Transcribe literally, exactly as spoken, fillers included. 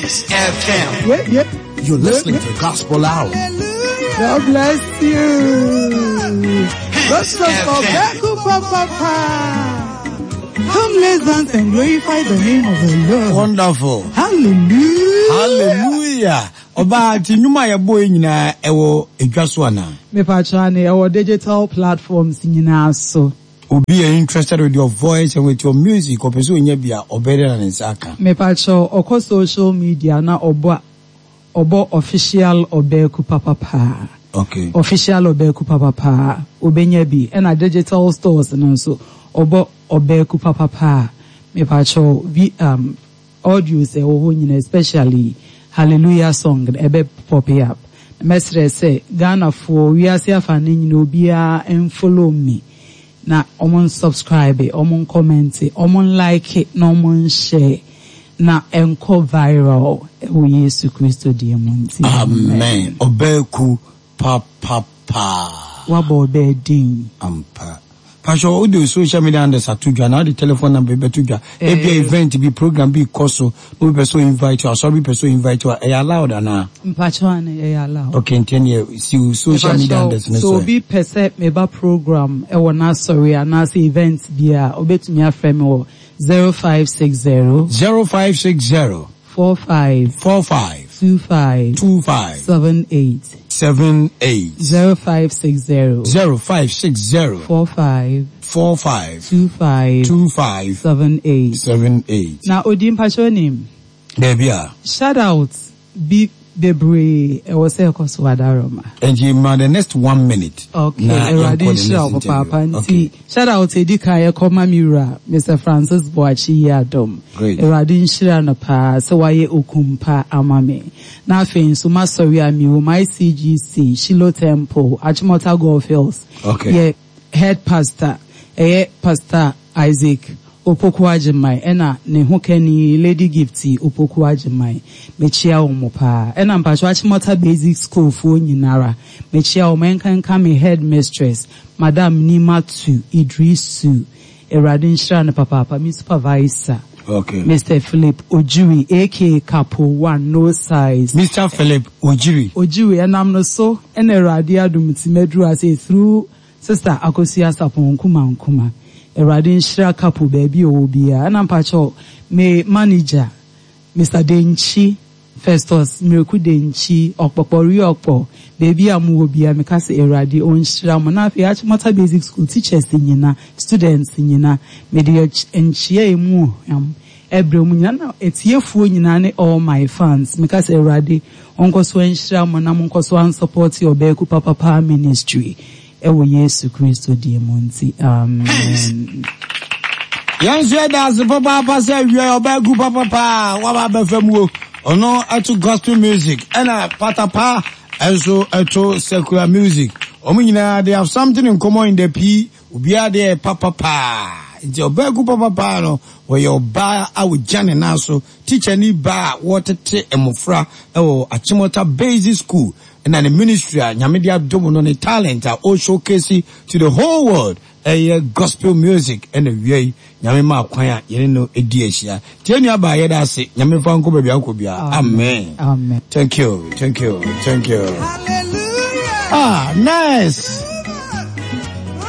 Peace F M. Yeah, yeah. You're listening to Gospel Hour. God bless you. Peace Gospel F M. Papa. Come, let's dance and glorify the name of the Lord. Wonderful. Hallelujah. Hallelujah. Ɔbaa ti nnwuma a yɛbɔ yi nyinaa ɛwɔ edwa so anaa? Mepa ne ɛwɔ digital platforms nyinaa so. Obi yɛ interested with your voice and with your music, ɔpɛ sɛ onya bi a, ɔbɛyɛ dɛ na ne nsa aka? Mepa ɔkɔ social media na ɔbɔ ɔbɔ Official Ɔbɛɛku Papapa. Okay. Official Ɔbɛɛku Papapa, obenya bi. Ɛna digital stores no nso, ɔbɔ Ɔbɛɛku Papapa. Mepa vi um audios ɛwɔ hɔ nyinaa, especially Hallelujah song, ɛbɛ pop up. Mɛsrɛ sɛ Ghanafoɔ, wiase afa ne nyinaa, obiara mfollow me na ɔmo subscribe, ɔmo comment, ɔmo like na ɔmo share na ɛnkɔ viral ɛwɔ Yesu Kristo deɛ mu nti. Amen. Ɔbɛɛku Papapa. Wabɔ ɔbɛɛ din. Ampa. Pastor, wode social media handles ato dwa na wode telephone number bi bɛto dwa. Ebia event bi, program bi kɔ so, na obi pɛ sɛ invite you, asɔre bi pɛ sɛ invite you a, ɛyɛ allowed anaa? Mpakyɛw ane, ɛyɛ allowed. Okay, nti ɛneɛ si wo social media handles no so. So. Obi pɛ sɛ meba program ɛwɔ n'asɔre anaasɛ event bi a, obetumi afrɛ me wɔ zero five six zero zero five six zero four five four five two five two five seven eight. seven eight. zero five six zero zero five six zero four five four five two five two five seven eight. seven eight. Na odi mpakyɛw nim. Daabi a. Shout out bi bebree ɛwɔ sɛ ɛkɔ so adaroma. Nti ma the next one minute. Okay, Awurade nhyira wo papaapa. Nti shout out edi kan yɛkɔ ma mi wura Mister Francis Boakye yi adom. Great. Awurade nhyira no paa sɛ wayɛ okum pa ama me. Na afei nso masɔre a mi wɔ my C G C Shiloh Temple, Achimota Golf Hills. Okay. Yɛ head pastor ɛyɛ Pastor Isaac Opoku Agyeman ɛna ne ho kani Lady Gift Opoku Agyeman. Mekyia wɔn paa. Ɛna mpatwa Achimota Basic School foɔ nyinara mekyia wɔn, nkanka me head mistress, Madam Nimatu Idrisu. Awurade nhyira no papaapa. Me supervisor, Okay. Mister Philip Ojiri, A K A Capo One No Size. Mister Philip Ojiri. Ojiri, ɛnam no so ɛna Awurade adum ti mɛduru ase through Sister Akosua Sapon Nkuma Nkuma. Awurade nhyira Capo baabi a ɔwɔ biara. Ɛna mpakyɛw me manager, Mister Denkyi Festus Miraku Denkyi Ɔkpɔkpɔri Ɔkpɔ, baabi a mowɔ biara, meka sɛ Awurade ɔnhyira mo. Na afei Achimota Basic School teachers nyina, students nyina, mede nkyia emu hwam ɛbrɛ mu nyina na etiefoɔ nyinaa ne all my fans. Meka sɛ Awurade ɔnkɔ so nhyira mo na monkɔ so ansupport Ɔbɛɛku Papapa Ministry ɛwɔ Yesu Kristo din mu nti, amen. Yɛn nso yɛda ase papaapa sɛ awia Ɔbɛɛku Papapa waba abɛfa mu o. Ɔno ɛto gospel music ɛna Patapa ɛnso ɛto secular music. Wɔn nyinaa, they have something in common in the p obiara deɛ papapa. Nti Ɔbɛɛku Papapa no, wɔyɛ ɔbaa a wɔgya ne nan so, teacher ni baa a wɔtete mmɔfra ɛwɔ Achimota Basic School, ɛna ne ministry a Nyame de adom no, ne talent a ɔ showcase to the whole world ɛyɛ gospel music. Ɛna wia yi Nyame ma kwan a yɛne no edi ahyia. Tie, nua baa, yɛda ase. Nyame fa nkɔ baabi ankɔ biara. Amen. Amen. Thank you, thank you, thank you. Ah, nice.